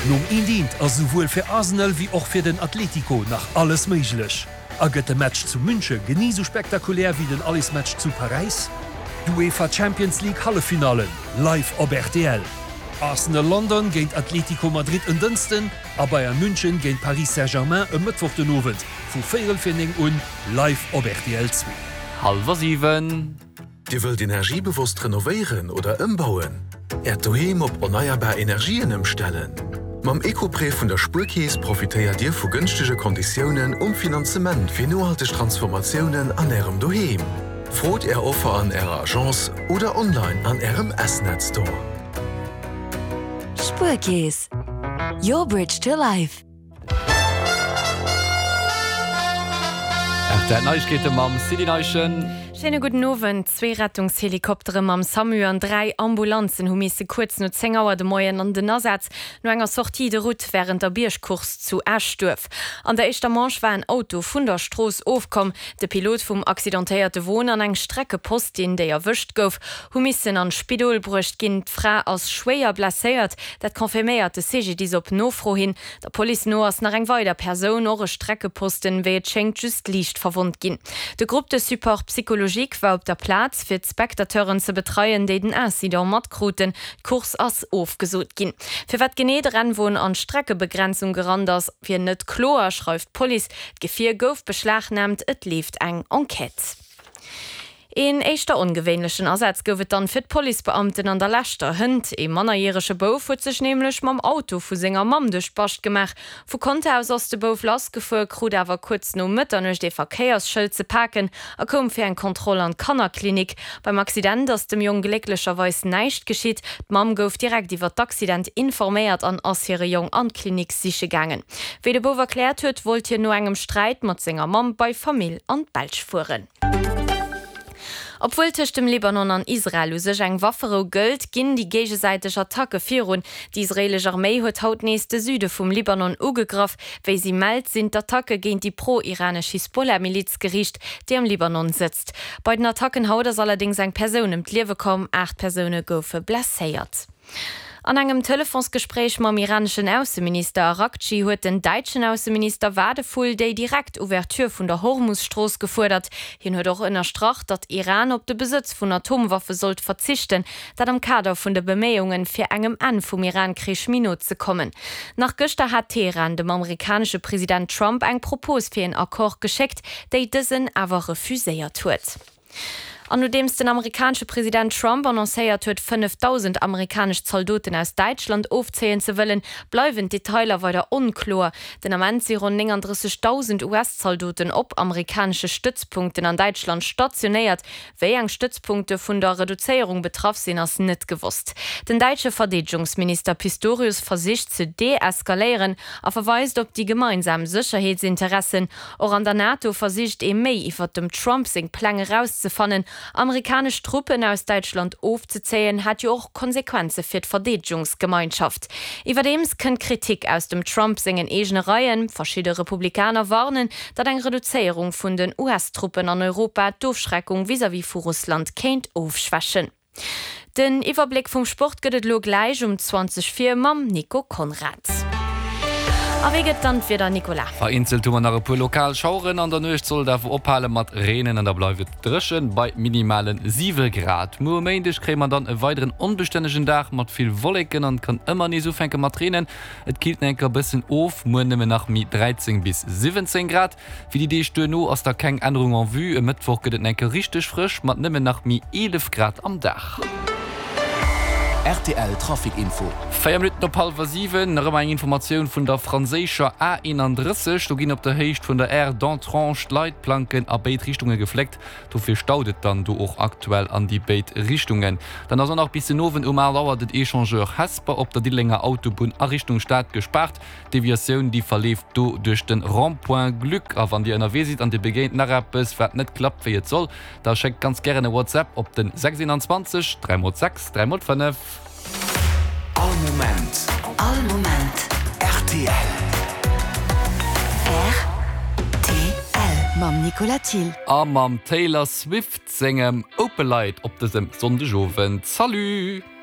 Nom eent eent ass esouwuel fir Arsenal wéi och fir den Atletico nach alles méiglech. A gëtt de Match zu Münche genee sou spektakulär wéi den Allesmatch zu Paräis? D'UEFA Champions League Halleffinallen live op rtl. Arsenal London géint Atletico Madrid en Dënsten a Bayern München géint Paris Saint-Germain e Mëttwoch den Owend vu véierel fir 9 un live op rtl 2. Hallwer 7. Dir wëllt energiebewosst renovéieren oder ëmbauen? Äert Doheem op erneierbar Energien ëmstellen? Mam Ecoprêt vun der Spuerkeess profitéiert Dir vu gënschtege Konditiounen um Finanzement fir nohalteg Transformatiounen an Ärem Doheem. Frot Är Offer an Ärer Agence oder online an Ärem S-Net Store. Spuerkeess, Your bridge to life. RTL Neiegkeete mam Sylvie Neichen. Schéine gudden Owend. Zwee Rettungshelikoptere mam Samu an 3 Ambulanzen hu misse kuerz no 10 Auer de Moien an den Asaz no enger Sortie de route wärend der Biergcourse zu Eschduerf. An der éischter Manche war en Auto vun der Strooss ofkomm. De Pilot vum accidentéierte Won an eng Streckepostin, déi erwëscht gouf, hu missen an d'Spidol bruecht ginn. D'Fra ass schwéier blesséiert, dat confirméiert de CGDIS op Nofro hin. Der Police no ass nach eng weider Persoun, och e Streckeposten, wéi et schéngt, just liicht verwonnt ginn. De Groupe de support psychologique war op der Plaz, fir d'Spectateuren ze betreien, déi den Incident matkruten. D'Course ass ofgesot ginn. Firwat genee de Rennwon an d'Streckebegrenzung gerannt ass, wier net kloer, schreift d'Police. D'Gefier gouf beschlagnaamt, et leeft eng Enquête. Een éischter ongewéinlechen Asaz gouf et dann fir d'Policebeamten an der leschter Hënt. Ee mannerjärege Bouf huet sech nämlech mam Auto vu senger Mamm duerch d'Bascht gemaach. Vu Conter aus ass de Bouf lassgefuer, krut awer kuerz no Mëtternuecht ee Verkéiersschëld ze paken a koum fir eng Kontroll an d'Kannerklinik. Beim Accident ass dem Jong glécklecherweis näischt geschitt. D'Mamm gouf direkt iwwer d'Accident informéiert an ass hire Jong an d'Klinik siche gaangen. Wéi de Bouf erkläert huet, wollt hien no engem Sträit mat senger Mamm bei Famill an d'Belsch fueren. Obwuel tëscht dem Libanon an Israel u sech eng Wafferou gëllt, ginn déi géigesäiteg Attacke virun. Déi israeelesch Arméi huet haut nees de Süde vum Libanon ugegraff. Wéi si mellt, sinn d'Attacke géint déi pro-iranesch Hisbollah-Miliz geriicht, déi am Libanon sëtzt. Bei den Attacken haut ass allerdéngs eng Persoun ëm d'Liewe komm, 8 Persoune goufe blesséiert. An engem Telefonsgespréich mam iraneschen Ausseminister Araghchi huet den däitschen Ausseminister Wadephul déi direkt Ouverture vun der Hormus-Strooss gefuerdert. Hien huet och ënnerstrach, datt Iran op de Besëtz vun Atomwaffe sollt verzichten, dat am Kader vun de Beméiungen, fir engem Enn vum Iran-Krich méi no ze kommen. Nach gëschter hat Teheran dem amerikanesche President Trump eng Propos fir een Accord geschéckt, déi dësen awer refuséiert huet. An nodeems den amerikanesche President Trump annoncéiert huet, 5.000 amerikanesch Zaldoten aus Däitschland ofzéien ze wëllen, bleiwen d'Detailer weider onkloer. Den Ament si ronn 39.000 US-Zaldoten op amerikanesche Stëtzpunkten an Däitschland stationéiert. Wéi eng Stëtzpunkte vun der Reduzéierung betraff sinn, ass net gewosst. Den däitsche Verdeedegungsminister Pistorius versicht ze deeskaléieren a verweist op déi gemeinsam Sécherheetsinteressen. Och an der NATO versicht ee méi iwwert dem Trump seng Pläng erauszefannen. Amerikanesch Truppen aus Däitschland ofzezéien, hat jo och Konsequenze fir d'Verdeedegungsgemeinschaft. Iwwerdeems kënnt Kritik aus dem Trump sengen eegene Reien. Verschidde Republikaner warnen, datt eng Reduzéierung vun den US-Truppen an Europa d'Ofschreckung vis-à-vis vu Russland kéint ofschwächen. Den Iwwerbléck vum Sport gëtt et elo gläich um 20 vir mam Nico Conrad. A wéi gëtt dann d'Wieder, Nicolas? Vereenzelt hu mer nach e puer lokal Schaueren. An der Nuecht soll et awer ophale mat reenen an da bleift et dréchen bei minimale 7 Grad. Muer um Méindeg kréie mer dann e weideren onbestännegen Dag mat vill Wolleken an et kann ëmmer nees ufänke mat reenen. Et killt nach enker e bëssen of, muer nëmmen nach méi 13 bis 17 Grad. Fir déi Deeg duerno ass da keng Ännerung en vue. E Mëttwoch gëtt et enke richteg frësch mat nëmmen nach méi 11 Grad am Dag. Rtl Trafic Info. 4 Minutten op hallwer 7, nach ëmmer eng Informatioun vun der franséischer A 31. Do ginn op der Héicht vun der Aire d'Entrange d'Leitplanken a béid Richtunge gefléckt. Dofir staut et dann do och aktuell an déi béid Richtungen. Dann ass och nach bis den Owend um 8 Auer den Echangeur Hesper op der Diddelenger Autobunn a Richtung Stad gespaart. D'Deviatioun déi verleeft do duerch den Rond-point Glück. A wann dir ënnerwee sidd an dir begéint nach eppes wat net klappt wéi et soll, da schéckt ganz gären e WhatsApp op den 6 21 3 x 6 3 x 5. All Moment. All Moment. Rtl. Rtl. Mam Nicolas Thill. A mam Taylor Swift sengem Opalite op dësem Sonndegowend. Salut!